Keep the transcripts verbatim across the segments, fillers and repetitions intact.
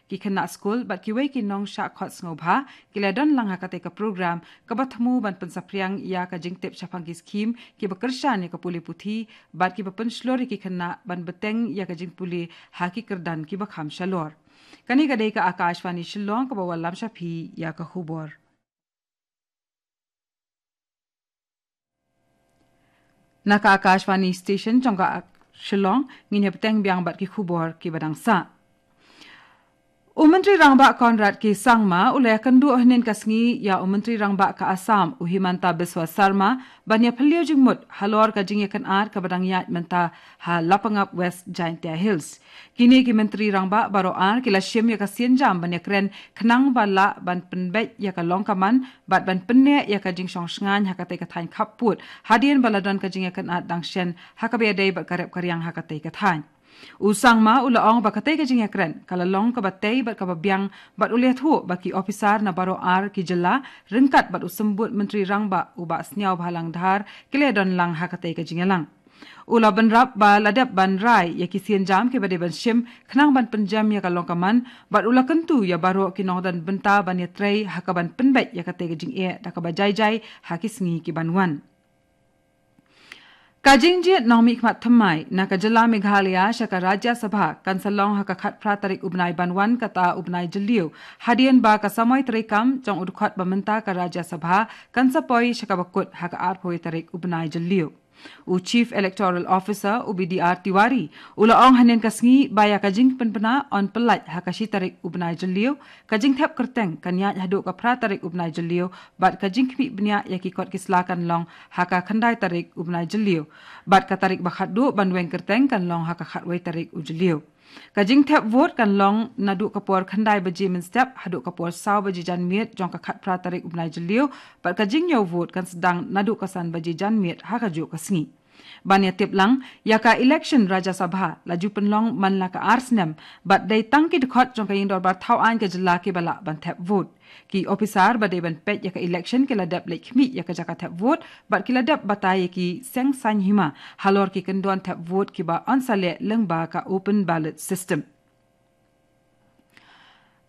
ki khynnah skul bad kiwei ki nongshah khot sngewbha ki la don lang ha katei ka program kaba thmu ban pynsaphriang ïa ka jingtip shaphang ki skhim kiba kyrshan ïa ka pule puthi bad kiba pynshlur ïa ki khynnah ban bteng ïa ka jingpule ha ki kyrdan kiba kham shalor. Kane ka dei ka Akashvani Shillong kaba wallam sha phi ïa ka khubor. Na ka Akashvani Station jong ka Ak-, Shillong, ngin ïa bteng biang bad ki khubor kiba dang sah. U Myntri Rangbah Conrad K Sangma u la ïakynduh hynnin ka sngi ïa u Myntri Rangbah ka Assam u Himanta Biswa Sarma ban ïa phylliew jingmut halor ka jingïakynad kaba dang ïaid mynta ha Lapangap, West Jaintia Hills. Kine ki Myntri Rangbah baroh ar ki la shim ïa ka sienjam ban ïakren khnang ba lah ban pynbeit ïa ka long ka man bad ban pynneh ïa ka jingshong shngaiñ ha katei ka thaiñ khappud hadien ba la don ka jingïakynad dang shen ha kaba ïadei bad ka rep ka riang ha katei ka thaiñ. U Sangma u la ong ba katei ka jingïakren ka la long kaba tei bad kaba biang bad u la ïathuh ba ki ophisar na baroh ar ki jylla ryngkat bad u Symbud Myntri Rangbah u Bah Sniawbhalang Dhar ki la don lang ha katei ka jingïalang. U la bynrap ba la dep ban rai ïa ki sienjam kiba dei ban shim khnang ban pynjem ïa ka long ka man bad u la kyntu ïa baroh ki nongdon bynta ban ïatrei ha kaban pynbeit ïa katei ka jingeh da kaba jai jai ha ki sngi kiban wan. Ka jingjied nongmihkhmat thymmai na ka jylla Meghalaya sha ka Rajya Sabha kan sa long ha ka khatphra tarik u bnai ban wan kata u bnai Jylliew hadien ba ka samoi treikam jong u dkhot ba mynta ka Rajya Sabha kan sa poi sha kaba kut ha ka arphew tarik u bnai Jylliew. U Chief Electoral Officer, u B D R Tiwari, u la ong hynnin ka sngi ba ïa ka jingpynbna yn pyllait ha ka shi tarik u bnai Jylliew, ka jingthep kyrteng kan ïaid haduh ka phra tarik u bnai Jylliew bad ka jingkhmih bniah ïa ki kot ki sla kan long ha ka khyndai tarik u bnai Jylliew bad ka tarik ba khatduh ban weng kyrteng kan long ha ka khatwei tarik u Jylliew. Ka jingthep vote kan long naduh ka por khyndai baje mynstep haduh ka por saw baje janmiet jong ka khatphra tarik u bnai Jylliew bad ka jingñiew vote kan sdang naduh ka san baje janmiet ha kajuh ka sngi. Ban ïa tip lang ïa ka election Rajya Sabha la ju pynlong man la ka ar snem bad dei tang ki dkhot jong ka ïing dorbar thaw aiñ ka jylla kiba lah ban thep vote. Ki ophisar ba dei ban peit ïa ka election ki la dep leit khmih ïa ka jaka thep vote bad ki la dep batai ïa ki seng saiñ hima halor ki kyndon thep vote kiba yn sa leh lyngba ka open ballot system.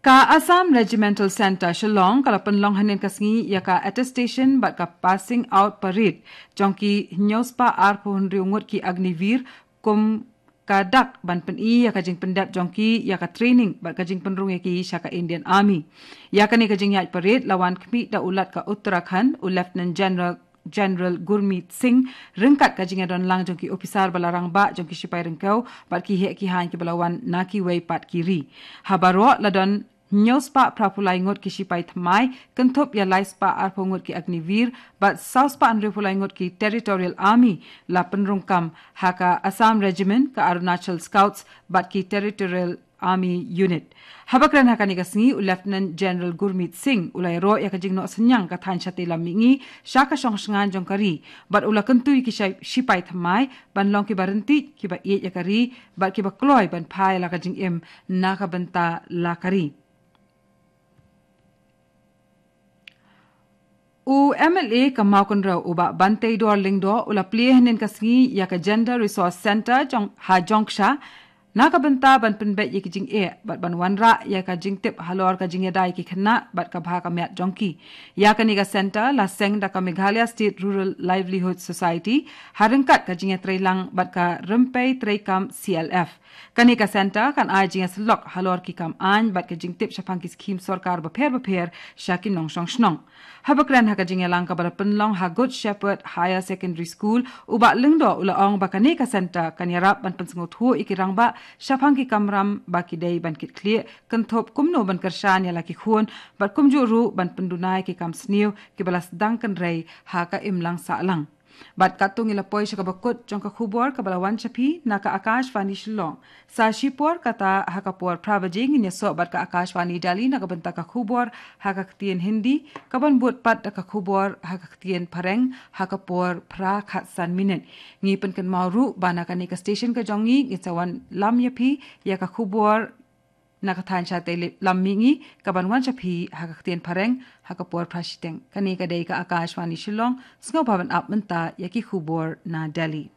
Ka Assam Regimental Centre Shillong ka la pynlong hynnin ka sngi ïa ka attestation bad ka passing out parade jong ki hynñiew spah arphew hynriew ngut ki Agniveer kum ka dak ban pyni ïa ka jingpyndep jong ki ïa ka training bad ka jingpynrung ïa ki sha ka Indian Army. Ïa kane ka jingïaid parade la wan khmih da u Lat ka Uttarakhand, u Lieutenant General General Gurmeet Singh, ryngkat ka jingïadon lang jong ki ophisar ba la rangbah jong ki shipai ryngkew bad ki heh ki haiñ kiba la wan na kiwei pat ki ri. Ha baroh la don hynñiew spah phra phew lai ngut ki shipai thymmai, kynthup ïa lai spah arphew ngut ki Agniveer bad saw spah hynriew phew lai ngut ki Territorial Army la pynrung kam ha ka Assam Regiment, ka Arunachal Scouts bad ki Territorial Army Unit. Haba kren ha kane ka sngi u Lieutenant General Gurmeet Singh u la ïaroh ïa ka jingnoh synñiang ka thaiñ shatei lam mihngi sha ka shong shngaiñ jong ka ri bad u la kyntu ïa ki shai-, shipai thymmai ban long kiba ryntih, kiba ïeit ïa ka ri bad kiba kloi ban phai la ka jingim na ka bynta la ka ri. U M L A ka Mawkynrew u Bah Banteidor Lyngdoh u la plie hynnin ka sngi ïa ka Gender Resource Centre jong ha Jongksha na ka bynta ban pynbeit ïa ki jingeh bad ban wanrah ïa ka jingtip halor ka jingïada ïa ki khynnah bad ka bha ka miat jong ki. Ïa kane ka centre la seng da ka Meghalaya State Rural Livelihood Society ha ryngkat ka jingïatreilang bad ka Rympei Treikam C L F. Kane ka centre kan ai jingïasyllok halor ki kam aiñ bad ka jingtip shaphang ki skhim sorkar bapher bapher sha ki nongshong shnong. Haba kren ha ka jingïalang kaba la pynlong ha Good Shepherd Higher Secondary School, u Bah Lyngdoh u la ong ba kane ka centre kan ïarap ban pynsngewthuh ïa ki rangbah shaphang ki kamram ba ki dei ban kit khlieh, kynthup kumno ban kyrshan ïa la ki khun bad kumjuh ruh ban pynduna ïa ki kam sniew kiba la sdang kynrei ha ka imlang sahlang. Bad katto ngi la poi sha kaba kut jong ka khubor kaba la wan sha phi na ka Akashvani Shillong. Sa shipor kata ha ka por phra baje ngin ïasoh bad ka Akashvani Delhi na ka bynta ka khubor ha ka ktien Hindi, kaban bud pat da ka khubor ha ka ktien Phareng ha ka por phra khatsan minit. Ngi pynkynmaw ruh ba na kane ka station ka jong ngi ngin sa wanlam ïa phi ïa ka khubor na ka thaiñ shatei lam mihngi kaban wan sha phi ha ka ktien Phareng ha ka por phra shiteng. Kane ka dei ka Akashvani Shillong, sngewbha ban ap mynta ïa ki khubor na Delhi.